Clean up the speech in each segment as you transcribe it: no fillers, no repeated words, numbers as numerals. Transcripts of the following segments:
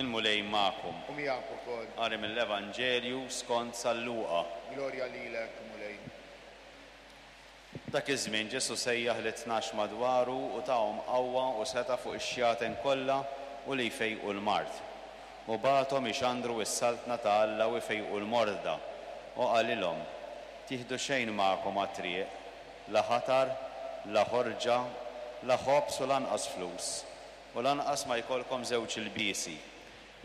Il-Mulej magħkom. U miegħek ukoll. Qari mill-Evanġelju skont San Luqa. Glorja lilek, Mulej. Dak iż-żmien Ġesù sejjaħ lit-tnax madwaru u tahom qawwa u setgħa fuq ix-xjaten kollha u li jfejqu l-mard. U bagħathom ixandru s-Saltna ta' Alla u jfejqu l-morda. U qalilhom, Tieħdu xejn magħkom għat-triq, la ħatar, la ħorġa, la ħobż u lanqas flus, u lanqas ma jkollkom żewġ ilbiesi.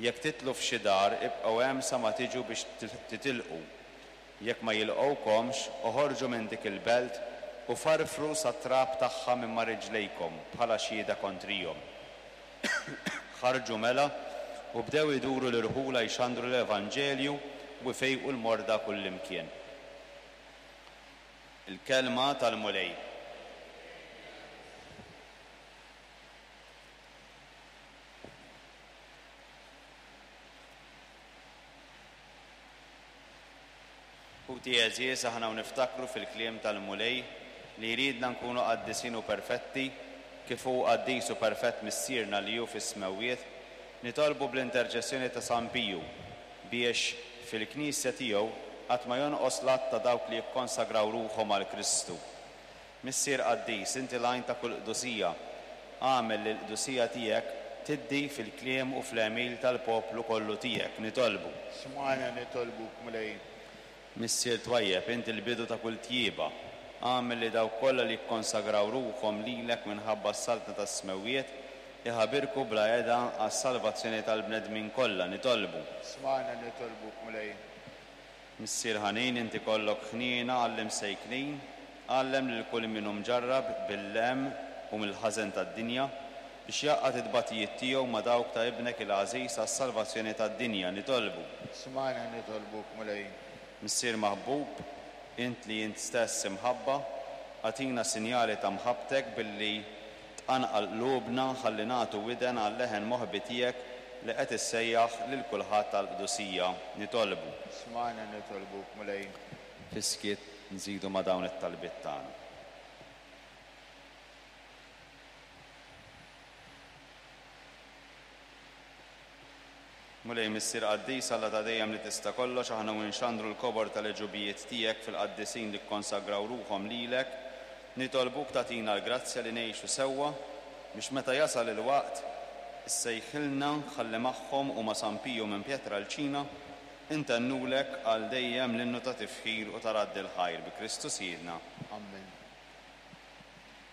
Jekk titlu f'xi dar, ibqgħu hemm sa ma tiġu biex titilqu. Jekk ma jilqgħukomx, oħorġu minn dik il-belt u farfru sat-trab tagħha minn ma' riġlejkom bħala xhieda kontrihom. Ħarġu mela u bdew iduru l-irħula jxandru l-evanġelju u jfejqu l-morda kullimkien. Il-Kelma tal-Mulej. Ħuti għeżież, aħna u niftakru fil-kliem tal-Mulej li jridna nkunu qaddisin u perfetti, kif hu qaddis u perfett Missierna li hu fis-smewwiet, nitolbu bl-interċessjoni ta' San Piju biex, fil-Knisja tiegħu, qatt ma jonqos l-għadd ta' dawk li jikkonsagraw ruħhom għal Kristu. Missier qaddis, inti l-għajn ta' kull qdusija. Agħmel li l-qdusija tiegħek tiddi fil-kliem u fl-għemil tal-poplu kollu tiegħek. Nitolbu. Smajna nitolbuk, Mulej. Missier twajjeb, inti l-bidu ta' kull tjieba. Agħmel li dawk kollha li jikkonsagraw ruħhom lilek minħabba s-Saltna tas-Smewwiet, iħabirku bla heda għas-salvazzjoni tal-bnedmin kollha. Nitolbu. Smajna nitolbuk, Mulej. Missier ħanin, inti kollok ħniena għall-imsejknin, għallem lil kull min hu mġarrab bil-hemm u mill-ħażen tad-dinja, biex jgħaqqad it-tbatijiet tiegħu ma' dawk ta' Ibnek il-għażiż għas-salvazzjoni tad-dinja. Nitolbu. Smajna nitolbuk, Mulej. Missier maħbub, int li int stess imħabba, agħtina sinjali ta' mħabbtek billi Tqanqal qlubna ħalli nagħtu widen għal-leħen moħbi tiegħek li qed issejjaħ lil kulħadd għall-qdusija. Nitolbu. Smajna nitolbuk, Mulej. Fis-skiet nżidu ma' dawn it-talbiet tagħna. Mulej Missier Qaddis, Alla ta' dejjem li tista' kollox, aħna u nxandru l-kobor tal-għeġubijiet tiegħek fil-qaddisin li kkonsagraw ruħhom lilek, nitolbuk tagħtina l-grazzja li ngħixu sewwa, biex meta jasal il-waqt, issejħilna ħalli magħhom u ma' San Piju minn Pietralcina, intennulek għal dejjem l-innu ta' tifħir u ta' radd il-ħajr bi Kristu Sidna.